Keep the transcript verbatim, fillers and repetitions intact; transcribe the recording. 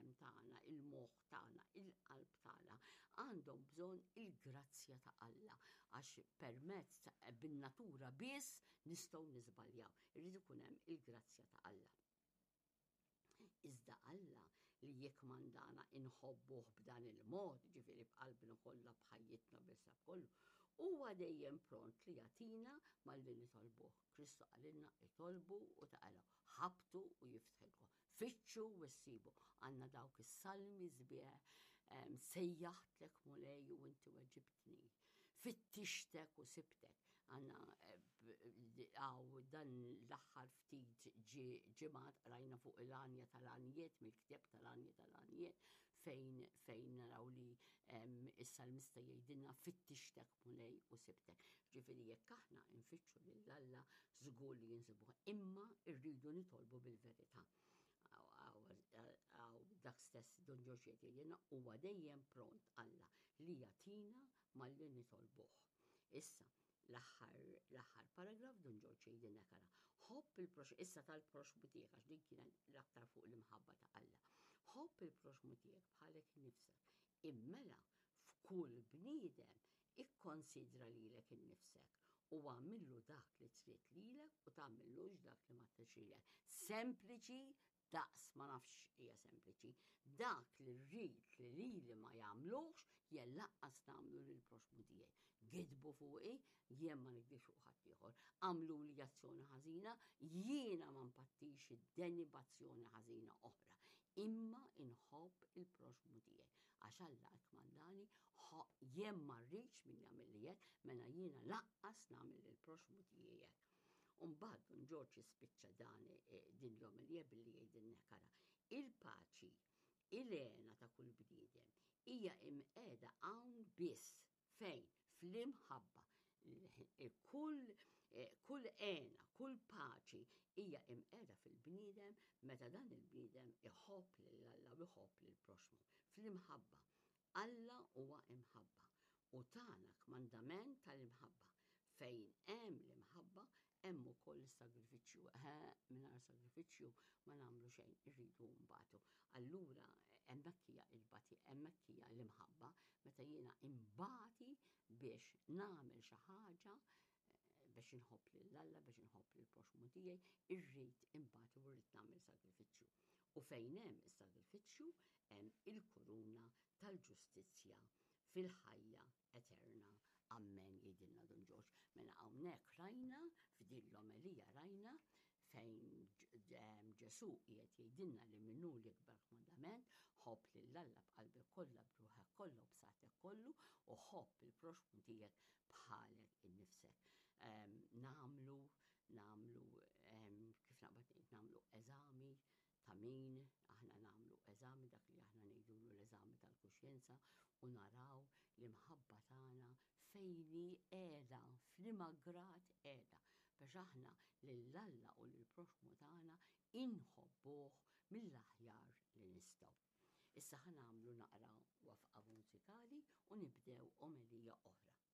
Il-ġisem tagħna, il-moħħ tagħna, il-qalb tagħna għandhom bżonn il-grazzja ta' Alla għax permezz bin-natura biss nistgħu niżbaljaw. Irrid ikun hemm il-grazzja ta' Alla. Iżda Alla li jekk mandana inħobbuh b'dan il-mod, ġifieri b'qalbna kollha, b'ħajjitna, bil kollu, huwa dejjem pront li jagħtina malli nitolbuh. Kristu qalilna itolbu u taqalgħu, ħabtu u jiftħilkom, fittxu u ssibu. Għandna dawk is-salmi sbieħ, sejjaħtlek, Mulej, u inti weġibtni. Fittixtek u sibtek. Għandna għaw dan l-aħħar ftit ġimgħat rajna fuq il-għanja tal-għanjiet, mill-ktieb tal-għanja tal-għanjiet, fejn fejn naraw li is-salmista jgħidilna fittixtek, Mulej, u sibtek. Ġifieri jekk aħna nfittxu lil Alla, żgur li nsibuh, imma rridu nitolbu bil-verità. Għaw dak stess Dun Ġorġ jgħidilna huwa dejjem pront Alla li jagħtina malli nitolbuh. Issa, l-aħħar paragraf Dun Ġorġ jgħidilna kara. Ħobb il-proxmu, issa tal-proxmu tiegħek, għax din kienet l-aktar fuq l-imħabba ta' Alla. Ħobb il-proxmu tiegħek bħalek innifsek. Immela f'kull bniedem ikkonsidra lilek innifsek u għamillu dak li trid lilek u tagħmillux dak li ma tridx. Sempliċi daqs ma nafx hija sempliċi. Dak li rrid li lili ma jagħmlux, jien lanqas nagħmlu lil proxmu tiegħi. Gidbu fuqi, jien ma nigdibx fuq ħadd ieħor. Għamlu li azzjoni ħażina, jiena ma npattix id-deni b'azzjoni ħażina oħra. Imma inħobb il-proxmu tiegħi. Għax Alla kmandani, jien ma rridx min jagħmel li hekk, mela jiena lanqas nagħmel il-proxmu tiegħi hekk. Umbagħad Dun Ġorġ jispiċċa dan eh, din l-omelija billi jgħidilna kara. Il-paċi, il-hena ta' kull bniedem, hija imqiegħda hawn biss. Fejn? Fl-imħabba. Kull eh, kull hena, kull paċi hija imqiegħda fil-bniedem meta dan il-bniedem iħobb lil Alla u iħobb lil proxmu. Fl-imħabba. Alla huwa imħabba u tana kmandament tal-imħabba. Fejn hemm l-imħabba, hemm ukoll is-sagrifiċċju. Mingħajr sagrifiċċju ma nagħmlu xejn, irridu nbatu. Allura hemmhekk hija il-bati, hemmhekk hija l-imħabba, meta jiena imbati biex nagħmel xi ħaġa eh, biex inħobb lil Alla, biex inħobb lil proxmu tiegħi, irrid imbati u rrid nagħmel sagrifiċċju. U fejn hemm is-sagrifiċċju hemm il-kuruna tal-ġustizzja fil-ħajja eterna. Amen, jgħidilna Dun Ġorġ. Mela hawnhekk rajna, f'din l-omelija rajna fejn Ġesu qiegħed jgħidilna li minnu l-ikbar kmandament, ħobb lil Alla b'qalbek kollha, b'ruħek kollha u b'saħħtek kollu u ħobb il-proxmu tiegħek bħalek innifsek. Nagħmlu, nagħmlu, kif naqbad ngħid, nagħmlu eżami ta' min aħna, nagħmlu eżami, dak li aħna ngħidulu l-eżami tal-kuxjenza, u naraw l-imħabba tagħna fejn hi qiegħda, f'liema grad qiegħda, biex aħna lil Alla u lill-proxmu tagħna inħobbuh mill-aħjar li nistgħu. Issa ħa nagħmlu naqra waqfa mużikali u nibdew omelija oħra.